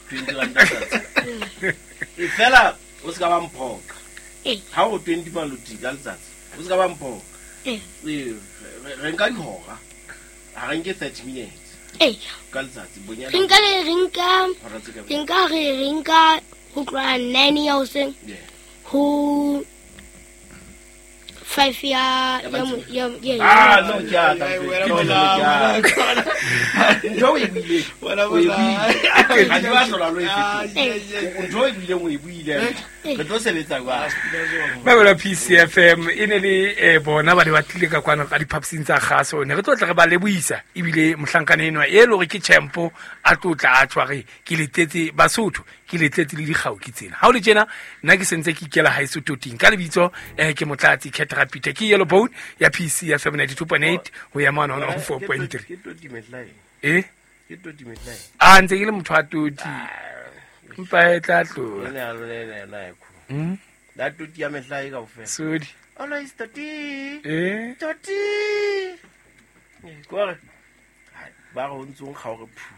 20 ranta letsatsi. E fela o se ka ba mphoqa. Ee. Ha o 20 maloti ka letsatsi, o se ka ba mphoqa. Ee. Ee, re nka dihora. Ha re nke 30 minutes Ee. ka letsatsi bonyane. Re nka le re nka Hora tse ka re nka re re nka ho tloha 9 ya hoseng Yeah. ho 5 ya ya mo- ya ya Ah, no, ke a tla. Ai, Ke wena no, bola, ke a tla. Ntho o e buileng. Wena O e bola. buile. Ha di ba hlola lo e Ah, fetola. yeah, yeah. Ntho o e buileng o e buile. Re tlo sebetsa jwang? Ba PCFM e ne le bona ba ne ba tlile ka kwano ka diphaposing tsa kgaso ne re tlo tla re ba lebohisa ebile mohlankana enwa e le hore ke champo a tlo tla a tshware ke letletse Basotho ke letletse le dikgao ke tsena ha o le tjena nna ke sentse ke ikela haeso toting ka lebitso ke Motlatsi Catrapita ke Yellow Bone ya PCFM 92.8 ho ya mane hona ho 4.3 Ke toti metlae. eh Ke toti metlae. a ntse ke le motho wa toti mpa e tla tloha Ene a lona ena ena e kholo. La toti ya mehlae kaofela. sodi Always toti. eh Toti. Kore. Ba re o ntso nkga hore phu.